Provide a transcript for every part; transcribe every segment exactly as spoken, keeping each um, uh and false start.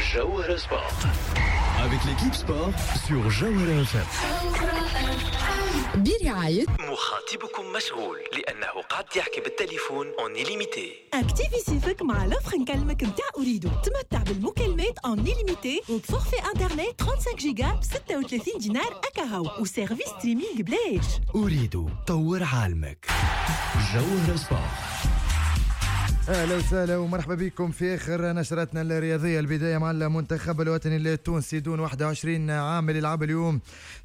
جوهرة Sport avec l'équipe sport sur جوهرة إف إم. برعاية مخاطبكم مشغول لأنه قاعد يحكي بالتليفون en illimité. activer صيفك مع l'offre نكلمك نتاع أوريدو، تمتع بالمكالمات en illimité وب forfait internet خمسة وثلاثين جيجا ب ستة وثلاثين دينار أكاهو و service streaming بلاش. أوريدو، طور عالمك. جوهرة Sport. اهلا وسهلا ومرحبا بكم في اخر نشرتنا الرياضيه. البداية مع المنتخب الوطني التونسي دون واحد وعشرين عام اللي لعب اليوم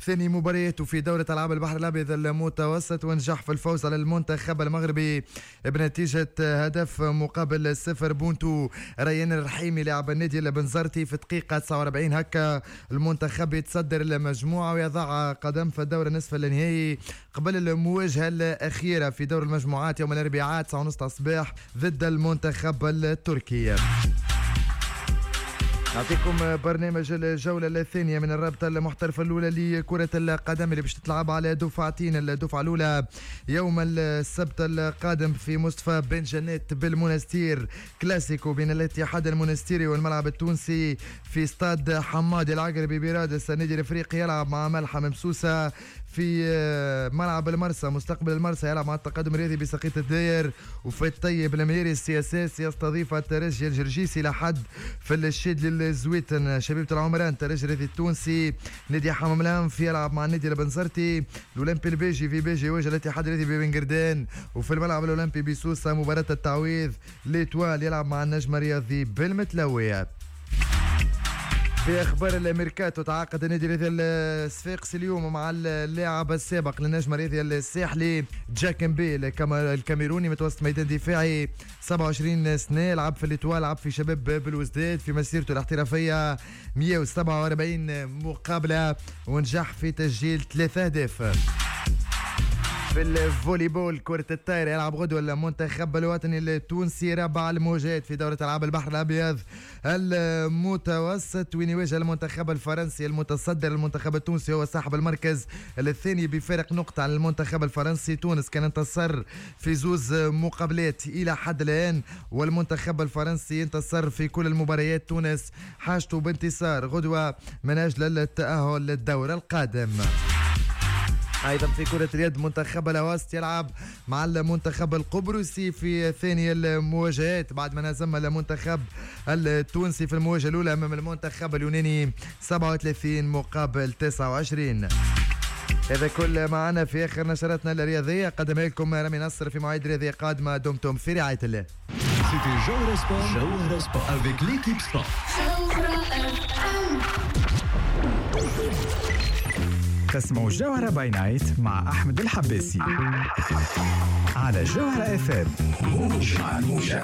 ثاني مبارياته في دوره العاب البحر الابيض المتوسط ونجح في الفوز على المنتخب المغربي بنتيجة هدف مقابل صفر، بونتو ريان الرحيمي لاعب النادي البنزرتي في دقيقة تسعة وأربعين. هكا المنتخب يتصدر المجموعة ويضع قدم في الدور النصف النهائي قبل المواجهة الاخيرة في دور المجموعات يوم الاربعاء تسعة وثلاثين الصباح ضد المنتخب التركي. نعطيكم برنامج الجولة الثانية من الرابطة المحترفة الأولى لكرة القدم اللي باش تتلعب على دفعتين. الدفعة الأولى يوم السبت القادم في مصطفى بن جنات بالمنستير، كلاسيكو بين الاتحاد المنستيري والملعب التونسي. في استاد حمادي العقربي برادس، النادي الافريقي يلعب مع ملحم بسوسة. في ملعب المرسى، مستقبل المرسى يلعب مع التقدم الرياضي بساقية الداير. وفي الطيب المهيري، ال CSS يستضيف الترجي الجرجيسي. لحد في الشاذلي الزويتن، شبيبة العمران ترجي الرياضي التونسي. نادي حمام الأنف يلعب مع النادي البنزرتي. الأولمبي الباجي في باجي يواجه الاتحاد الرياضي ببنقردان. وفي الملعب الأولمبي بسوسة، مباراة التعويض، l'Étoile يلعب مع النجم الرياضي بالمتلوية. في اخبار الميركاتو، تعاقد النادي الرياضي الصفاقسي اليوم مع اللاعب السابق للنجم الرياضي الساحلي جاك مبي الكاميروني، متوسط ميدان دفاعي، سبعة وعشرين سنه، لعب في l'Étoile، لعب في شباب بلوزداد. في مسيرته الاحترافية مية وسبعة وأربعين مقابله ونجح في تسجيل ثلاثة اهداف. في الفولي بول، كرة الطايرة، يلعب غدوة المنتخب الوطني التونسي رابع المواجهات في دورة ألعاب البحر الأبيض المتوسط، وين يواجه المنتخب الفرنسي المتصدر. المنتخب التونسي هو صاحب المركز الثاني بفارق نقطة على المنتخب الفرنسي. تونس كان انتصر في زوز مقابلات إلى حد الآن والمنتخب الفرنسي انتصر في كل المباريات. تونس حاجته بانتصار غدوة من أجل التأهل للدور القادم. ايضا في كرة اليد، منتخب الأواسط يلعب مع المنتخب القبرصي في ثاني المواجهات بعد ما هزم المنتخب التونسي في المواجهة الأولى أمام المنتخب اليوناني سبعة وثلاثين مقابل تسعة وعشرين. هذا كل معنا في آخر نشراتنا الرياضية، قدمها لكم رامي نصر. في مواعيد رياضية قادمة، دمتم في رعاية الله. C'était Jawhara Sport, Jawhara Sport avec l'équipe sport. جوهرة. تسمعوا جوهرة by night مع أحمد الحباسي على جوهرة إف إم. موجة. موجة.